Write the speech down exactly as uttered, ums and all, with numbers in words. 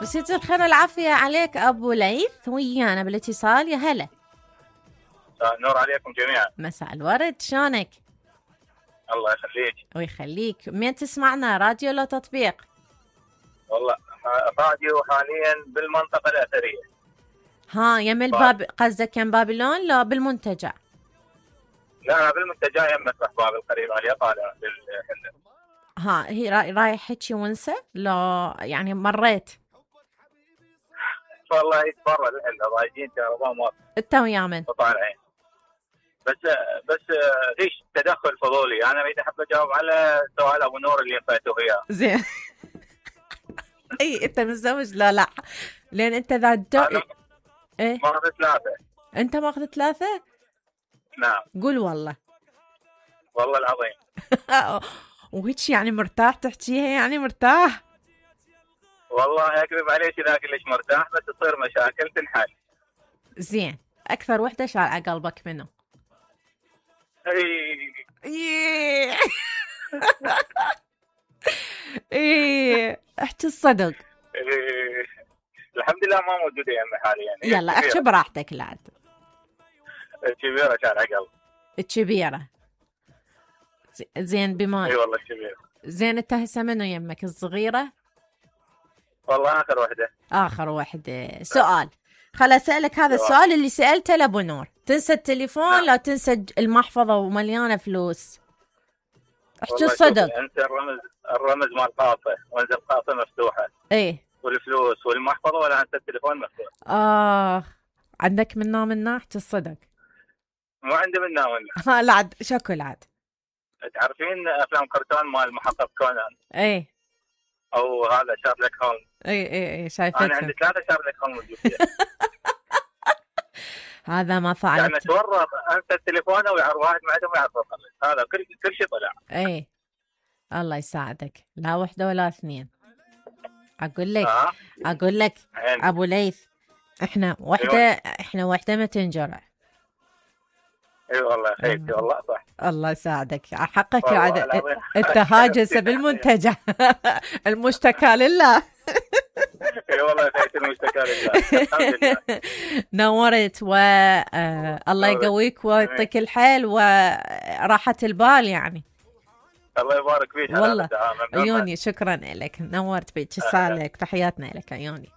بس يصير خير والعافية عليك أبو ليث ويانا بالاتصال. يا هلا. نور عليكم جميعا. مساء الورد، شلونك؟ الله يخليك. ويخليك. مين تسمعنا، راديو ولا تطبيق؟ والله راديو حاليا بالمنطقة الأثرية. ها يم الباب، قصدك يم بابلون لا بالمنتجع؟ لا بالمنتجع يم مسرح باب القريب عليا طالع بالحلة. ها هي رايح هيجي ونسة؟ لا يعني مريت والله يتبرى الحلة ضايجين كهرباء ما انت ويا من طالعين. بس بس ليش تدخل فضولي؟ انا اريد احب اجاوب على سؤال ابو نور اللي انفيته اياه. زين. اي انت متزوج؟ لا لا لان انت ذا جو... ايه ماخذ ثلاثة. انت ماخذ ثلاثة؟ نعم. قول والله. والله العظيم. وهيك يعني مرتاح تحكيها؟ يعني مرتاح؟ والله اكذب عليك اذا كلش مرتاح، بس تصير مشاكل تنحل. زين. اكثر وحده شال على قلبك منه؟ اي ايه احكي الصدق. إيه. الحمد لله ما موجوده يعني حاليا. يلا احكي براحتك. لا الكبيره شال على قلب. الكبيره. زين بما اي والله الكبيره. زين انت هسه منو يمك، الصغيره؟ والله اخر وحده. اخر وحده. سؤال، خل اسالك هذا السؤال اللي سالته لابو نور. تنسى التليفون لا تنسى المحفظه ومليانه فلوس؟ احكي الصدق. انت الرمز الرمز مال قاطه، وانزل قاطه مفتوحه. ايه والفلوس والمحفظه، ولا انت التليفون مفتوح. اه عندك منا منا احكي الصدق. مو عندي منا ولا. ها لا عاد شكل عاد. تعرفين افلام كرتون مال المحقق كونان؟ ايه. او هذا شارلوك هولمز. اي اي اي شايفتها. انا عندي ثلاثه شارلوك هولمز. هذا ما فعلت. يعني تورط انت التليفون ويعرف واحد ما عنده ما يعرف هذا كل كل شيء طلع. اي الله يساعدك. لا وحده ولا اثنين. اقول لك آه. اقول لك عين. ابو ليث، احنا وحده أيوة. احنا وحده ما تنجرع. اي أيوة والله خيتي والله صح. الله يساعدك حقك. عاد التهاجس بالمنتجع. المشتكى لله. اي والله خيتي المشتكى لله. الحمد لله. نورت والله يقويك ويعطيك الحيل وراحة البال يعني. الله يبارك فيك. والله عيوني شكرا لك، نورت بيك. سالك تحياتنا لك عيوني.